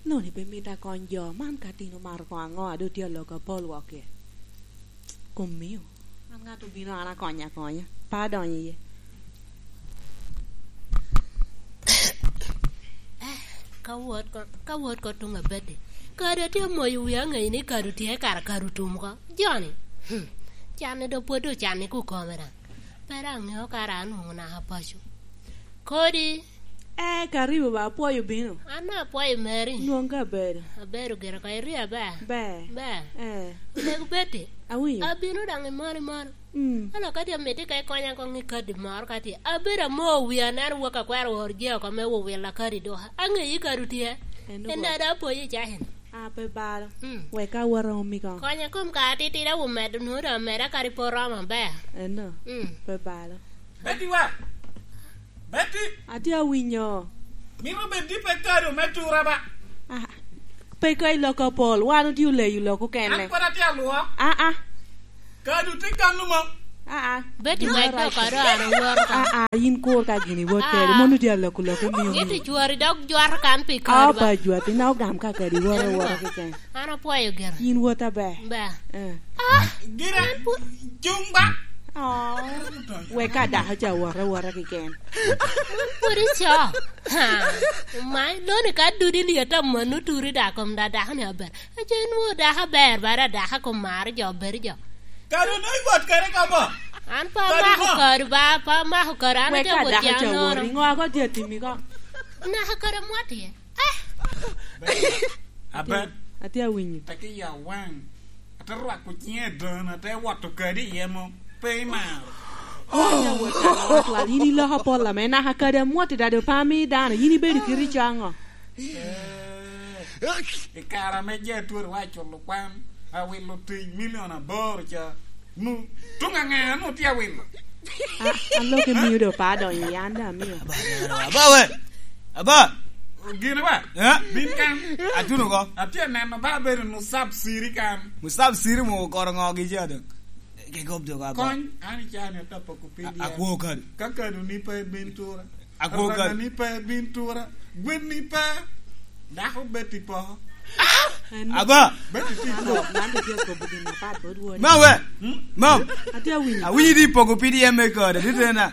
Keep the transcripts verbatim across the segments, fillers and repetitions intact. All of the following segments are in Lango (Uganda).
Noni pe mito akony jo man ka tin omaro koŋ aŋo, a doŋ tye alok apol wok iye. Kom mio, an ŋat obino an akonyo akonya, pe adonyo iye. Eh, ka wot ko, ka wot ko tuŋ abedde. Kadi atye amoyo wia aŋeyo ni kadi otye kara kadi otum ko. Joni, hmm, canni doŋ pwod ocanni kukome daŋ. Pe daŋ aŋeo kara anwoŋo naka paco. Kodi. Eh, karibu ba, apwoyo bino. An apwoyo meri. Nwoŋ ka abedo. Abedo gire ko, iria ba? Ber. Ber. Eh. Omego Betty. Awinyo. Abino daŋ i malo i malo. Mm. Ano kadi amito ka ikonya koŋ i kadi moro kadi. Abedo amo wi aneno wok akwero wor je oko me wowila kadi doka. Aŋeyi kadi tye. En En ogo. Dada apwoyo i cakina. Ah, pe balo. Mm. Wek ka awot aomi koŋ. Konya kom ka atitidi awomedo nwoŋo doŋ ameda kadi pe oromo aber. Eno. Mm. Pe balo. Betty wa! Betty! Atye awinyo. Mito bed ni pe kado me tura ba? Ah, pe ka i lok apol, wan otye oleyo lok okene. An pwod atye alwok. Ah, ah. Kado tye kan lumo. Ah, ah. Betty, wek dok kado an aworo ka. Ah, ah, yin kur ka gini wot kede. Ah. Mon otye aloko lok omio. Iti cwari dok jwato kan pi kado ba. Ah, pa jwati na ogam ka kadi woro woro keken. An apwoyo gire. Yin wot aber. Ba. Eh. Ah, gire an pu- cung ba. Oh. Wek ka dako ca woro woro keken. An pwod ico. Ha. Omai, loni ka dudi liet a mano turi da kom da dako ni aber. Aco inwoŋo dako aber, ba da dako kom maro jo, bedo jo. Kadi onwoŋo iwot kede ka bo? An pe amako kodi ba, pe amako kodi, an atye awot ca nono. Ŋo ago tye atimi ko? Naka kodi amwat iye. Eh! Aber. Atye awinyo. Teke ya waŋ. Ate rwako ciŋa i doŋa, ate woto kadi iye mo. Pe imaro. Atye awot ca nono twal. Yin iloko apol ame naka kadi amwat i dado pe ami dano. Yin ibedo kiri caŋo? Eh, i kare ame Jetwero wa culo kwan, awilo tic milion aboro ca, nu, tuŋ aŋe anu tye awilo? A, a lok emio do pa donyo i an da amio. Aba, aba, aba we! Aba! Gin ba? Eh? Bin kan. Atuno ko. Atye neno ba bedo nu sab siri kan. Mu sab siri mu koro ŋo gi jado. Ke gob do ka ba. Kony, an i cani atapa kupidi. A, akwo kado. Ka kado ni pe bin tura. Akwo kado. Ranga ni pe bin tura. Gwen ni pe. Dako bet i poko. Aba. Bet i poko. Man do tye akobo gin apat bot wodi. Ma we. Hmm? Mam. Atye awinyo. Awinyo di poko P D M me kode. Di tena.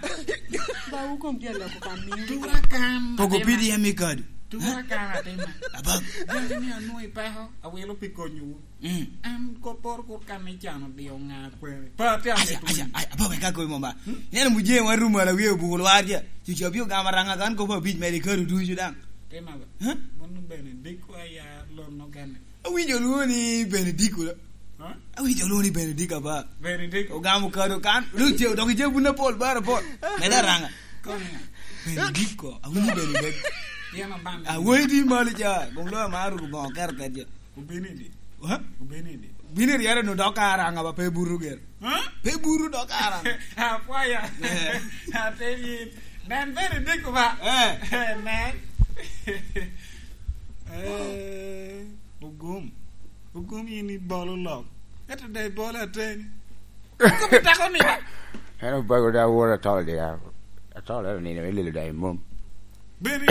Ba wukom tye aloko kan ni. Tura kan. Poko P D M me kode. Tura kan atima. Aba. Gwen ni anwoŋo i peko. Awilo pi konyowu. Mm. An kopporo kur kan ni can odio ŋa kwene. Pa te Aca, amito aca, winy. Aca, apa wek akobi mama. Hmm? Ineno mujee wan rum ala wie obuko lwar ja. Cucu abio gama ranga kan kopo abic mere ikado ducu daŋ. Te maba. Huh? Mano bene dikko aya lonno gane. Awinjo lwongo ni Benediko da. Huh? Awinjo lwongo ni Benediko apa. Benediko. Ogamo kado kan. Dok ice, dok ice bun apol, bar apol. Meda ranga. Konya. Benediko. Awinjo Benediko. Pien abang. Awoyi di malo ja. Gum loyo mar ruko bongo kero kede ja. Obino i di? Ha? Obino i di? Bino i ryere nu dok ka araŋa ba pe buru ger. Ha? Pe buru dok ka araŋa. Apwaya. Eh. Ate yin. Nen bene diko ba. Eh. Eh, nen. Eh, ogum. Ogum yin ibolo lok. Ento da ibolo ateni. Kop itako ni. En obago da woro atol dia. Atol en onino me lelo da i mom. Beni.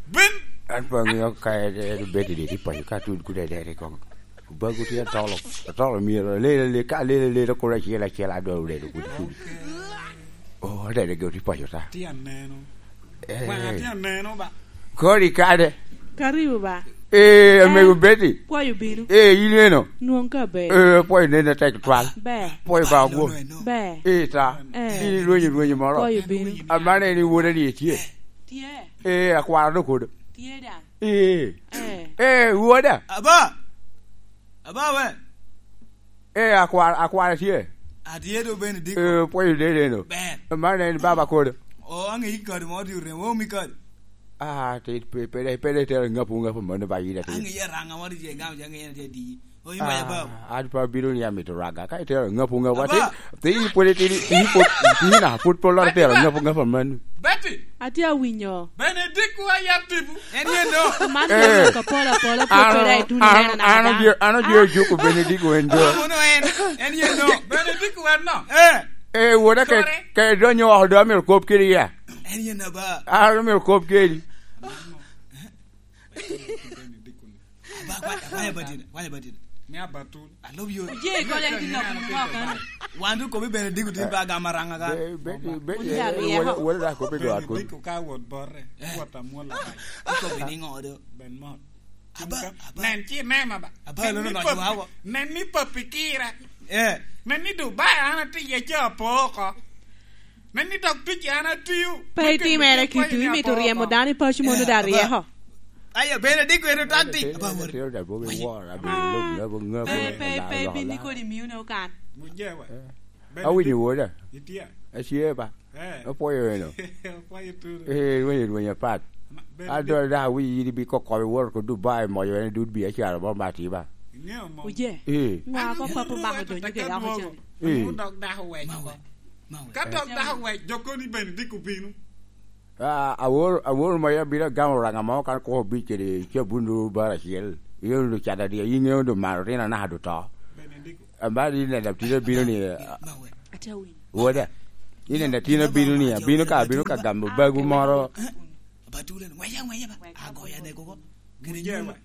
Ben. An pe aŋeo ka en, en obed i dye paco ka tud kude dede koŋ. Obago tye atolo. Atolo myero alel, alel, ka alel, alel, kolo acel, acel, adwa oledo kudi, kudi. Oh, adede geo tye paco ta. Tye aneno. Eh. Wanga tye aneno ba. Kodi kade. Karibu ba. Eh, amego Betty. Pwoyo bino. Eh, in eno. Nwoŋ ka ber. Eh, pwoyo nene tek twal. Ber. Pwoyo ba ogwo. Ber. Eh, ta. Eh. In ilwenyo, lwenyo moro. Pwoyo bino. Amane ni woda ni etye. Tye. Eh, akwara do kodo. Tye da. Eh. Eh. Eh, woda. Aba. Aba we. Eh, akwar-, akwara tye. Atye do bene diko. Eh, pwoyo dede no. Ber. Man en baba kodo. O, aŋe ikado mo ti oremo, omi kado. Ah, te pe-, pede, pede itero ŋapu, ŋapu mano ba yin ate. Aŋe araŋa mo ti je gam, je aŋe en tye di. O, imba ya ba. Ah, an pe abino ni amito raga. Ka itero ŋapu, ŋapu, aba. Ati, ti pwod itidi, ti pwod, ti na pwod pol lor itero ŋapu, ŋapu mano. Betty. Atye awinyo. Benediko ayat tipo. En yen do. Man Eh. Ŋo ka pol apola pwod an, pwod en tuno an, neno an naka oje-, an oje ojuko Benediko en do. Mono en. En yen do. Benediko en no. Eh. Eh, woda ke, Kore. Ke donyo oko do amito kop kede ya. En yen aba. An amito kop kedi. Benedict-ni. Aba, kwa-, kwa-, kwa-, Benedict, kwa-, Benedict. Me abatul. I love you. Oje, kole, I love you, kaka. Wan duk kobi Benedict, tin ba gama ranga ka. Be-, be-, be-, Oje, wode, wode da kobi go akun. Benedict ka wot borre, eh, wot amwola. Ikobi ni ŋo do? Ben mot. Aba, aba. Nen ci inema ba. Aba, nen ni papi, nen ni papi kira. Eh. Nen ni Dubai an atye iye ca apo oko. Nen ni dok tic an atio. Pe itimere kiti, imito ryemo dano i paco mono da ryeko. Aye, bene diko eno tati. Aba, wori. Pe, pe, pe, bini kodi miyo ne okan. Muje wa. Eh. Awinyo woda. Itye. Atye ba. Eh. Apwoyo eno. Apwoyo turu. Eh, rwenyo, rwenyo apat. Ma, bene. Adol da wi yidi bi kokko i wor ko Dubai moyo ene dud bi acharo mo mati ba. Ingeyo mo. Uje. Eh. Ngo ko papo mako donyo kede oko chan. Eh. Dok dako wec oko. Ka dok dako wec, jo koni bene diko bino. Ah, awor, awor moyo abino agamo ranga mo kan koko bic kede cabun do bar acel. Iyo do cada di, ingeyo do maro rin anaka do to. Bene diko. Amba di neno atina bino ni, ah, Ate awinyo. Woda. Ni neno atina bino ni, abino ka, abino ka gamo bagu moro. Batuleno, ngwece, ngwece ba. Agoya ne koko. Muje wa.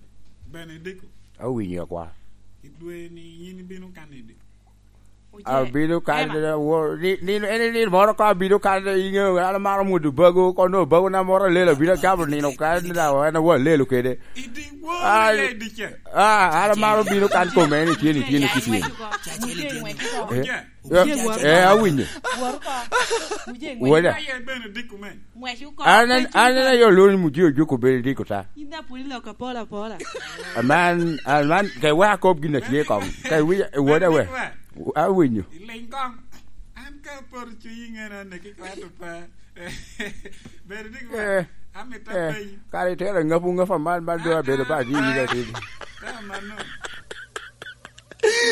Bene diko. Awinyo kwa. Idwe ni yin ibino kan idi. Abino kan, ni, ni, en ni moro ka abino kan, ingeyo, an amaro mwodo bago, kono bago na moro alelo, abino agamo nino kan, da, en awa alelo kede. Idi wo, ah, ya idi ce. Ah, an amaro bino kan kome, ni tye, ni tye, ni tye. Eh, eh, awinyo. Woda. An, an, an ayo loni muje ojuko bene diko ta. Aman, aman, ke wa kop gin a tye kong. Ke wi, woda we. Awinyo. Iliny kong. An ka aporo cuny i ŋena, neki kwato pe. Bene ni, eh, amito, eh, apenyi. Kara itero ŋapu ŋapu aman, man doŋ abedo ba di yiga tidi. Ka mano,